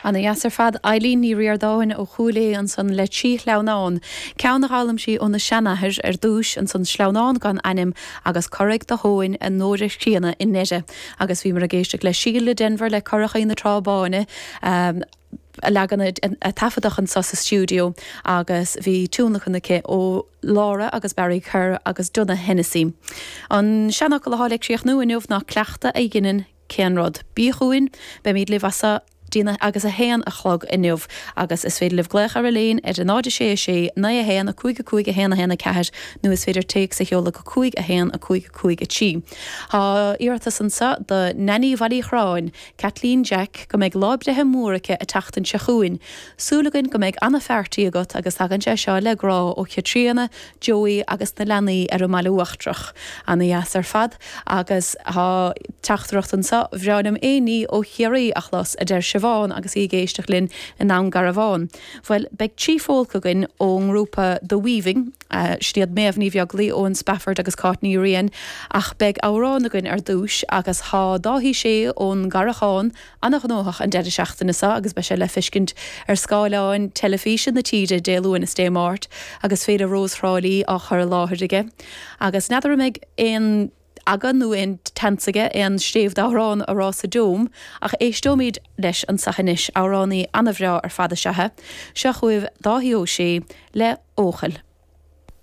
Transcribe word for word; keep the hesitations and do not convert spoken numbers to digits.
Ana dheas ar fad Eileen Ní Ríordáin ó Chúil Aodha ansan le trí shleamhnán. Ceann a d'fhoghlaim sí óna seanathair ar dtús ansan sleamhnán gan ainm agus Corraigh do thóin a Nóra Chríonna i ndeireadh. Agus bhíomar ag éisteacht le Síle Denvir le Curachaí na Trá Báine. Um, a leagan a taifeadadh anseo sa stiúideo agus bhí tionlacan aici ó Laura agus Barry Kerr agus Donagh Hennessy. An seanfhocal atá le críochnú inniu ná cleachtadh a ghineann cén rud. Bí chugainn beimid libh as dtí agus a haon a chlog inniu agus is féidir libh glaoch ar an líne ar a náid sé sé naoi a haon a cúig a cúig a haon a haon a ceathair nó is féidir téacs a sheoladh go cúig a haon a cúig a cúig a trí. Tá iarratas anseo do Nanny Bhaile Uí Chorráin, Kathleen Jack go mbeidh lá breithe mór aici an tseachtain seo chugainn. Súil againn go mbeidh an-pharty agat agus tagann sé seo le grá ó Chaitríona, Joey agus na leanaí ar an mBaile Uachtarach. Ana dheas ar fad agus tá teachtaireacht anseo bhreá liom aon ní ó Chiarraí a chlos a deir Siobhán agus í ag éisteacht linn i nDún Garbhán. Well beidh trí folk againn ón ngrúpa The Weaving, uh, siad Méabh Ní Bheaglaoich ón Spafford agus Cáit Ní Riain ach beidh amhrán againn ar dtús agus tá Dáithí Sé ón gCarrachán an-ghnóthach an deireadh seachtaine seo agus beidh sé le feiscint ar scáileáin teilifíse na tíre Dé Luain is Dé Máirt agus Féile Rós Thrá Lí á chur i láthair aige. Agus n'fheadar an mbeidh aon aga nó aon tseans aige aon stéibh d'amhrán a rá sa dóm ach éisteoimid leis anseo anois amhránaí an-bhreá ar fad is ea é. Seo chugaibh Dáithí Ó Sé le Eochaill.